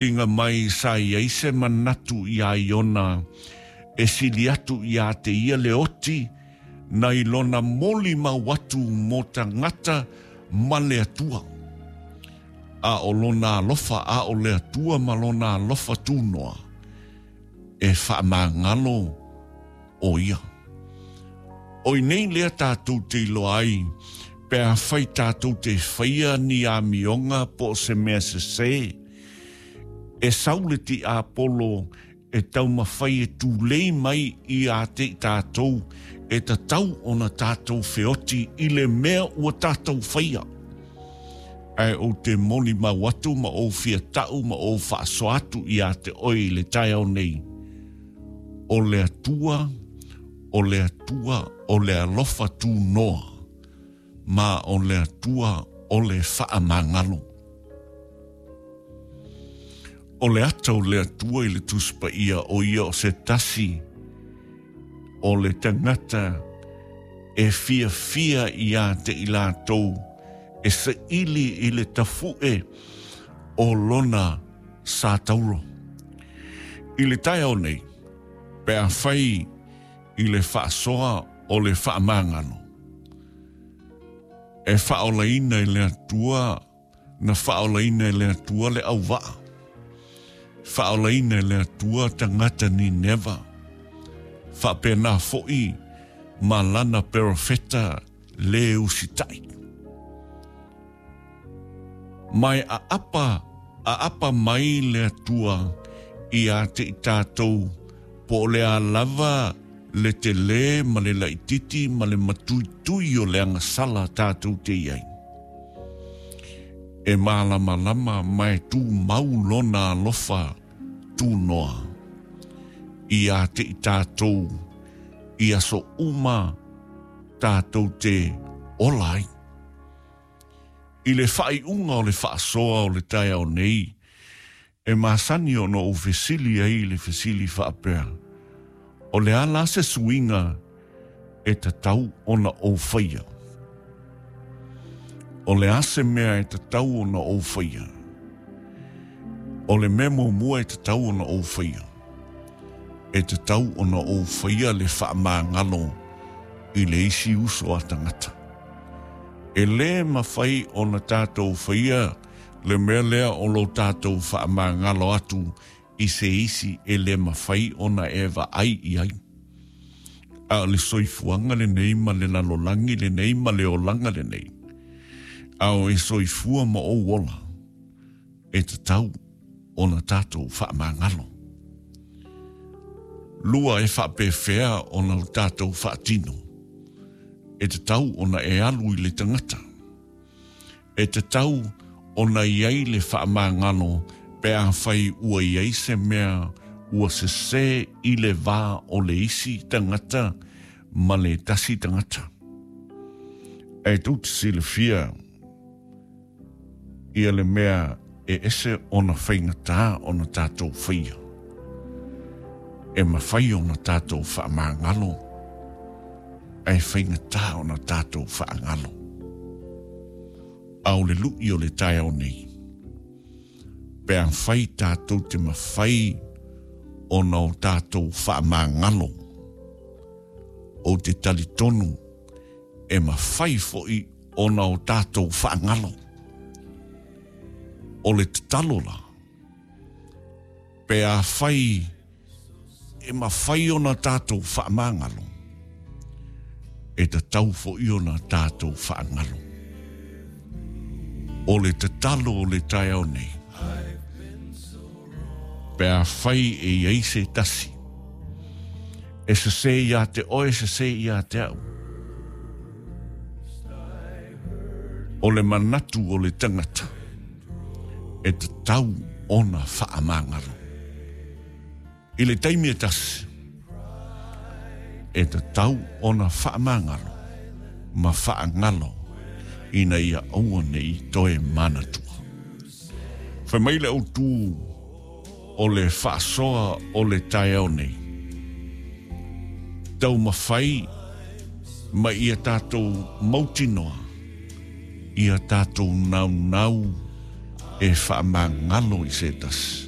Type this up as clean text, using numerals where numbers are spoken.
Inga mai sa i ai se manatu iā Iona e sili atu iā te ia le oti nai lona molimau atu mo tagata ma le Atua. A o lona alofa, a o le Atua ma lona alofa tunoa, e faamagalo o ia. O i nei lea tatou te iloa ai pe afai tatou te faia ni amioga po o se mea sesē, e sau le tiapolo e taumafai e tulei mai ia te i tatou e tatau ona tatou feoti i le mea ua tatou faia. Ae ou te molimau atu ma ou fia ta'u ma ou faasoa atu ia te oe i le taeao nei, o le Atua, o le Atua o le alofa tunoa, ma o le Atua o le faamagalo. O le ata o le Atua i le Tusi Paia o ia o se tasi o le tagata e fiafia ia te i latou e saili i le tafu'e o lona satauro. I le taeao nei, pe afai i le faasoa o le faamagalo, e faaolaina e le Atua, na faaolaina e le Atua le auvaa, faaolaina e le Atua tagata Nineva, faapena foi ma lana perofeta lē usitai. Ma e aapa aapa mai le Atua ia te i tatou po o le a lava le telē ma le laitiiti ma le matuitui o le agasala tatou te i ai. E malamalama ma e tumau lona alofa tunoa ia te i tatou i aso uma tatou te ola ai. I le faaiuga o le faasoa o le taeao nei, e masani ona ou fesili ai i le fesili faapea, O le a la se suiga e tatau ona ou faia? O le a se mea e tatau ona ou faia? O le mea muamua e tatau ona ou faia, e tatau ona ou faia le faamagalo i le isi uso a tagata. E lē mafai ona tatou faia le mea lea o lo tatou faamagalo atu i se isi e lē mafai ona e vaai i ai. A o le soifuaga lenei ma le lalolagi lenei ma le olaga lenei, a o e soifua ma ou ola, e tatau ona tatou faamagalo. Lua e faapefea ona o tatou faatino, e tatau ona e alu i le tagata. E tatau ona i ai le faamagalo pe afai ua i ai se mea ua sesē i le va o le isi tagata ma le tasi tagata. Ae tou te silafia ia le mea e ese ona faigata ona tatou faia. E mafai ona tatou faamagalo, ae faigata ona tatou faagalo. A o le lu'i o le taeao nei, pe afai tatou te mafai ona o tatou faamagalo, ou te talitonu e mafai foi ona o tatou faagalo. O le tatalo la, pe afai e mafai ona tatou faamagalo, e tatau foi ona tatou faagalo. O le tatalo o le taeao nei, pe afai e i ai se tasi, e sesē iā te oe, sesē iā te au. O le manatu o le tagata, e tatau ona faamagalo. I le taimi e tasi, e tatau ona faamagalo ma faagalo ina ia aua ne i toe manatua. Fai mai le autu o le faasoa o le taeao nei, taumafai ma ia tatou mautinoa ia tatou naunau e faamagalo i se tasi.